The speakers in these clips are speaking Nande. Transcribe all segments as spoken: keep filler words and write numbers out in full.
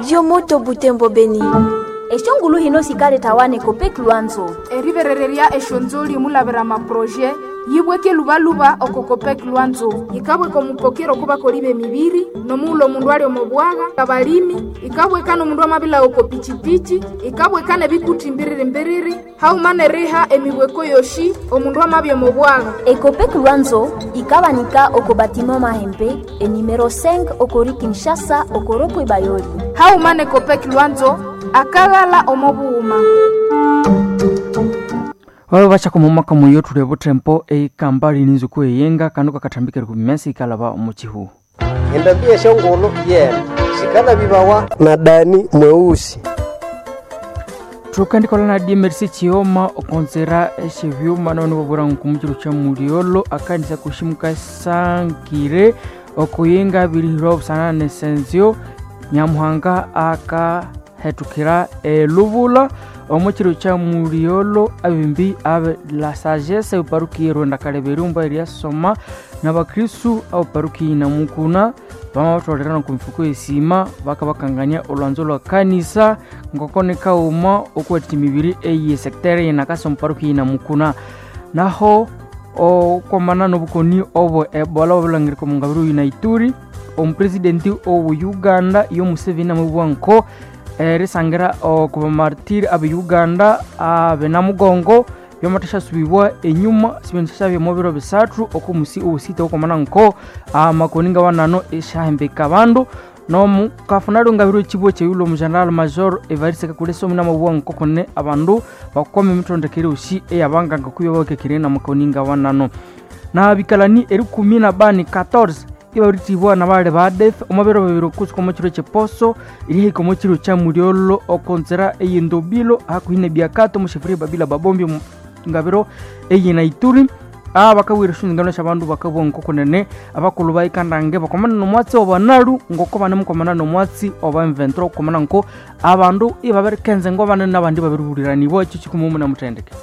Diomoto Butembo Beni. Eshongulu hino sikaletawa Copec Lwanzo. Eriberelerya eshonzoli mulavira maproje yibweke lubaluba oko Copec Lwanzo yikabweka omupokero kubakoli b'emibiri nomuula omundu ali omo bwaga abalimi ikabweka n'omundu amabila oko pichipichi ikabweka n'ebikuti mbiriri mbiriri hauma n'eriha emibweko yoshi omundu amabya omo bwaga. Ecopec Lwanzo ikabanika oko batiment Mahembe enumero cinq okori Kinshasa okoropwe Bayoli. Hauma ne Copec Lwanzo akaghala omo bughuma. Babe bachaka omumaka muyo thuli obuthempo eikambali ninzuku eyenga kanu kakathambikere ku mimesi ikalaba omu kihu. Endambi esyongulhu yene sikalabibawa na dani mweusi. Thukandikolha na D M R C Chioma okonzera esyebyuma nabana babwira nku kya mulyolo akanisa kushimuka sankire okuyenga birihirwa obusana nesenzyo Nyamuhanga akahethukira elubula omukiro kya mulyolo abimbi abe la sagesse eparuki yerwenda kaleberumba eryasoma nabakristu abaparuki namukuna bamabatholera nokumifuko esima bakabakangania olwanzo lwa kanisa ngoko nikauma okuwathikya emibiri eye sectere yenakasa omuparuki yenamukuna naho okwamana nobukoni obwe ebola obulangirika omungabiro yina Ituri omupresidenti owu Uganda yo Museveni amabugha nko erisangira okubamartiri abe Uganda abe namugongo byamathasya enyuma sibendisya omu biro bisathu okumusi owusita okwamana nko amakoni ngawanano esyahembeka abandu nomukafunalyo ngabiro ekibwa ekyeyulha omu General Major Evariste Kakule Somi namabugha nko kune abandu bakwame emithondekere yosi eyabanganga kubya babakekere namakoni ngawanano nabikalani erikumi na bani quatorze ibabirithibwa nabali ba death omu biro bibiri kusuka omu kiro kyeposo erihika omu kiro kya mulyolo okonzera eyendobilo hakuhi nebyakato omu sheferi babila babombi ngabiro eyina Ituri abakawira esyonzingano syabandu bakabugha nkokunene abakulhu bayikandange bakwamana nomwatsi obanalu ngoko banemukwamana nomwatsi oba M vingt-trois okwamana nko abandu ibabirikenza ngo banene nabandi babiribuliranibwa ekyo kikumumu namuthendeke.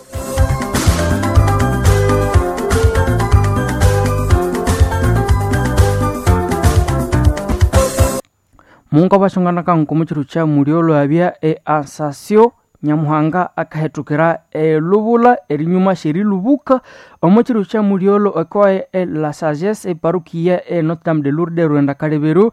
Mungu abashongana kanko mukiro kya mulyolo abya e asasio Nyamuhanga akahethukira elubula erinyuma syerilubuka omu kiro kya mulyolo ekoe e la sagesse eparukia e Notre Dame de Lourdes Rwenda Kaleberu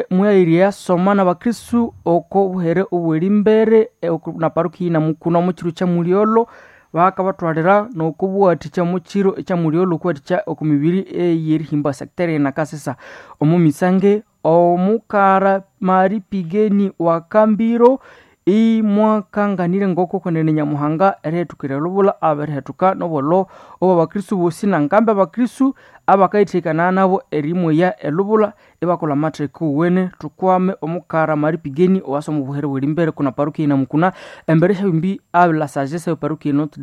mwairya soma nabakristu oko buhere obwerimbere na parukia namukuna omu kiro kya mulyolo bakabathwalira nokubuwathikya mukiro ekya mulyolo okuwathikya oku mibiri eyerihimba sectere nakasesa omu misange omukara Mari Pigeni wa Kambiro imwakanganire ngoko kwenene Nyamuhanga erihethukira elubula abirihethuka nobwolo obo abakristu bosi nangambi abakristu abakayithekana nabo erimweya elubula ibakolha amatheka owene. Thukwame omukara Mari Pigeni owasa omu buhere bwerimbere kuna parukia namukuna embere syabimbi abila sagesse eparukia Notre